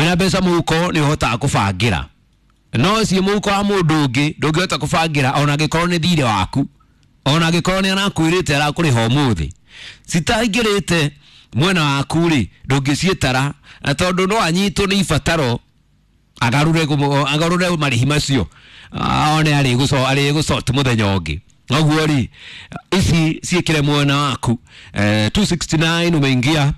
Wĩna mbeca mũhuko nĩ ũhotaga kũbangĩra, no ciĩ mũhuko wa mũndũ ũngĩ ndũngĩhota kũbangĩra, ona angĩkorwo nĩ thirĩ waku, ona angĩkorwo nĩ arakwĩrĩte arakũrĩha ũmũthĩ, citaingĩrĩte mwena waku rĩ, ndũngĩciĩtara, na tondũ no anyitwo nĩ ibataro agarũre agarũre marĩhi macio. Ah, one arĩgũcoti mũthenya ũngĩ. Noguo rĩ, ici ciĩkĩre mwena waku. 269 umeingia,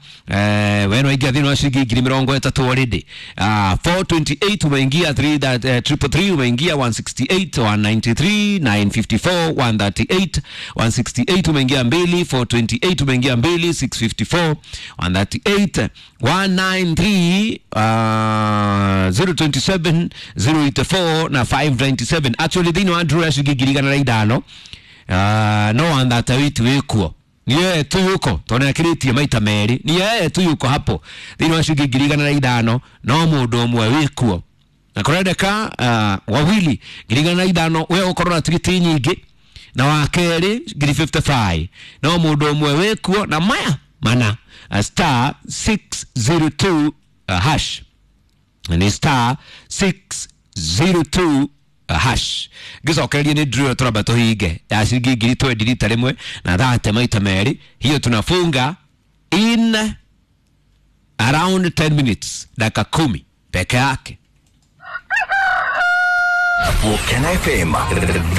we waingia thĩinĩ wa ciringi 30,000 already. 428 umeingia, 3 that, 333 umeingia, 168, 193, 954, 138, 168 umeingia mbili, 428 umeingia mbili, 654, 138, 193, 027, 084 na 597. Actually thĩinĩ wa draw ya ciringi 105,000, no 138 wĩkuo, ni yeye tu yuko, tondũ akĩrĩtie maita merĩ, ni yeye tu yuko hapo thĩinĩ wa ciringi 105,000, no mũndũ ũmwe wĩkuo na kũrendeka wawili 105,000, we ũkorwo na tigiti nyingĩ, na wa kerĩ 55,000, no mũndũ ũmwe wĩkuo na maya mana, star 602 hash, ni star 602 hash. Ngĩcokererie nĩ drill tũramba tũhinge ya ciringi 20,000 rita rĩmwe na thate maita merĩ. Hiyo tunafunga in around 10 minutes, dakika 10 peke yake. Volcano FM.